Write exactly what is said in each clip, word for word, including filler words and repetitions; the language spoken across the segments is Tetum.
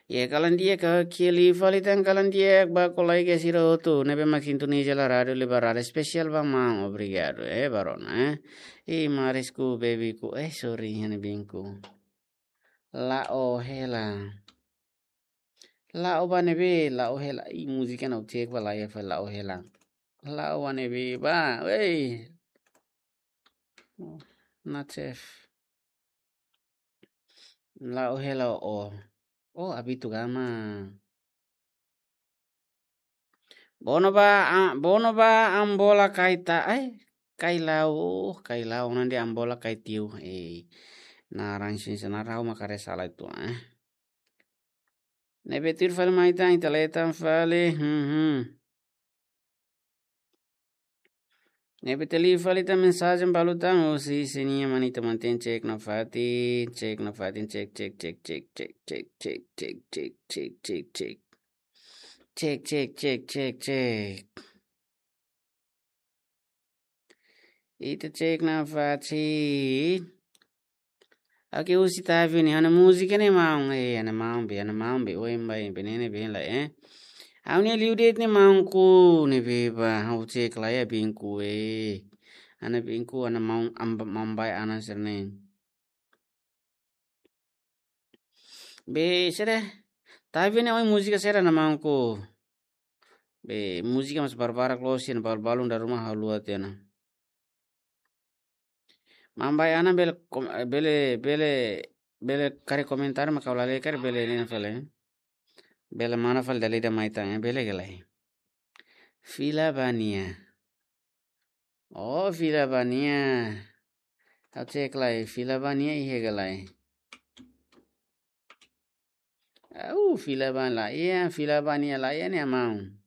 Iha kalan di'ak, oke, liu fali tan kalan di'ak ba kolega sira hotu ne'ebé mak sintoniza hela Rádiu Liberdade, espesiál ba maun, obrigadu, eh, barona, eh. I marisku, bebiku, eh, sorry, hane binku. La'o hela. La'o ba ne'ebé, la'o hela. I múzika ne'e ha'u cek ba laiha fali, la'o hela. La'o ba ne'ebé ba, wey. Natcef. La'o hela o. Oh, Abitu Gama. Bono ba, a, bono ba Ambola Kaita, ai, Kailau, oh, Kailau, nanti Ambola Kaitiu, eh. Naran sin senar ha'u mak haree sala uitoan, eh. Ne'ebé tuir fali mai tan, ita leten fali, hmm, hmm. Ne'ebé ita liu fali tan mensajen balu tan, husi sira-nia mane, ita mantein cek nafatin, cek nafatin, cek, cek, cek. Cek, cek, cek, cek, cek. Ita cek nafatin. Oke, husi Tavi ne'e, ha'u-nia múzika ne'e maun, eh, ha'u-nia maun be, ha'u-nia maun be, oin ba, be ne'e ne'e be la, eh. Ha'u-nia liu de'it ne'e maunku, ne'ebé ba, ha'u cek laiha binku, eh. Ha'u-nia binku, ha'u-nia maun, amba, maun bai ana serne. Be, sede, Tavi ne'e oin múzika sira na maunku. Be, múzika mós barbarak loos, sira balu-balu dala ruma haluha tiha ona. Maun bai ana bele kom-, bele, bele, bele karik komentar mak ha'u la lee karik bele ne'e fali. Bele mana fali dala ida mai tan, eh, bele ka lae. Fila ba nia. Oh, fila ba nia. Ha'u cek lai, fila ba nia iha ka lae. Au, fila ba laiha, fila ba nia laiha ne'e maun.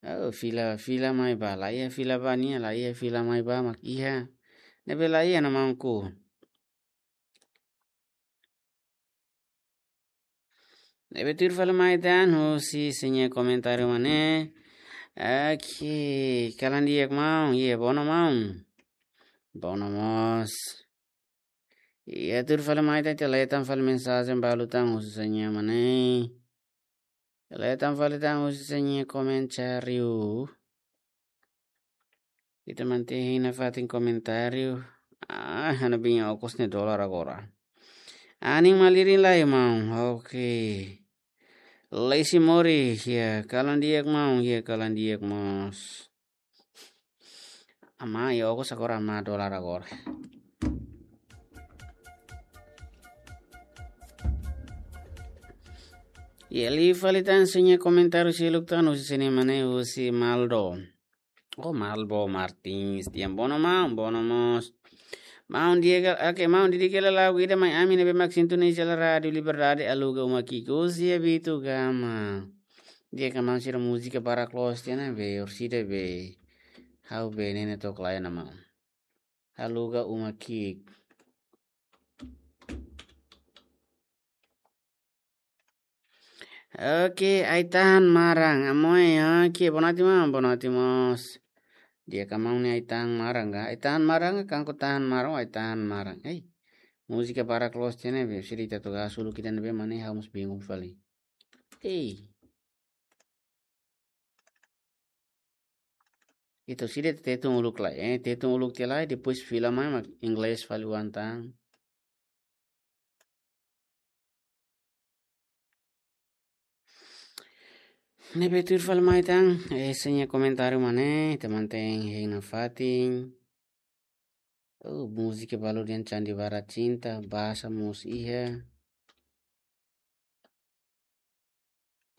Au, fila, fila mai ba laiha, fila ba nia laiha, fila mai ba mak iha. Ne'ebé laiha na maunku. Ne'ebé tuir fali mai tan, husi sira-nia komentáriu mane. Oke, kalan di'ak maun, iha bono maun. Bono mós. Iha tuir fali mai tan, ita leten fali mensajen balu tan, husi sira-nia mane. Ita leten fali tan, husi sira-nia komentáriu. Ita mantein hein nafatin komentáriu. Ah, ha'u-nia biin okos ne'e dolar agora. Anin malirin lai maun. Oke. Lacy Mori, iha kalan di'ak maun, iha kalan di'ak mós. Ama, iha okos agora ama dolar agora. Iha liu fali tan sira-nia komentáriu seluk tan, husi sira-nia mane, husi Maldo. Oh, Malbo Martins, di'ak, bono maun, bono mós. Maun di'ak, oke, maun didik hela lagu ida mai ami ne'ebé mak sintoniza hela Rádiu Liberdade, Aluga Uma Ki'ik, husi Abitu Gama. Di'ak ka maun, sira múzika barak loos tiha ona be, orsida be. Ha'u be ne'e ne'e took laiha ona maun. Aluga Uma Ki'ik. Oke, Ai-Tahan Maran, amoy, oke, bonoati maun, bonoati mós. Di'ak ka maun, ne'e Ai-Tahan Maran ka? Ai-Tahan Maran ka, Kangku Tahan Maran, Ai-Tahan Maran. Ei, múzika barak loos tiha ona be, sira ita took hasoru ita ne'ebé mane, ha'u mós bingung fali. Ei. Ita orsida Tetun uluk lai, eh, Tetun uluk tiha lai, depois fila mai mak inglés fali oan tan. Ne'ebé tuir fali mai tan, eh, sira-nia komentáriu mane, ita mantein hein nafatin. Oh, múzika balu dehan Sandiwara Cinta, Bahasa mós iha.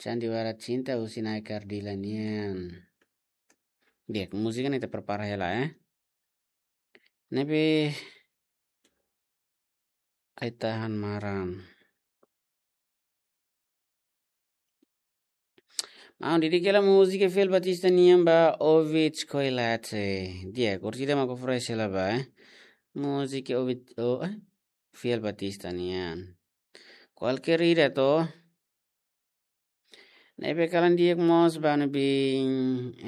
Sandiwara Cinta husi Nae Kardila nian. Di'ak, múzika ne'e ita prepara hela, eh. Ne'ebé Ai-Tahan Maran. Maun didik hela múzika Fiel Batista nian ba Ovid Koilate. Di'ak, orsida mak oferese hela ba, eh. Múzika Ovid, oh, eh, Fiel Batista nian. Kualkér ida to. Ne'ebé kalan di'ak mós ba ha'u-nia biin.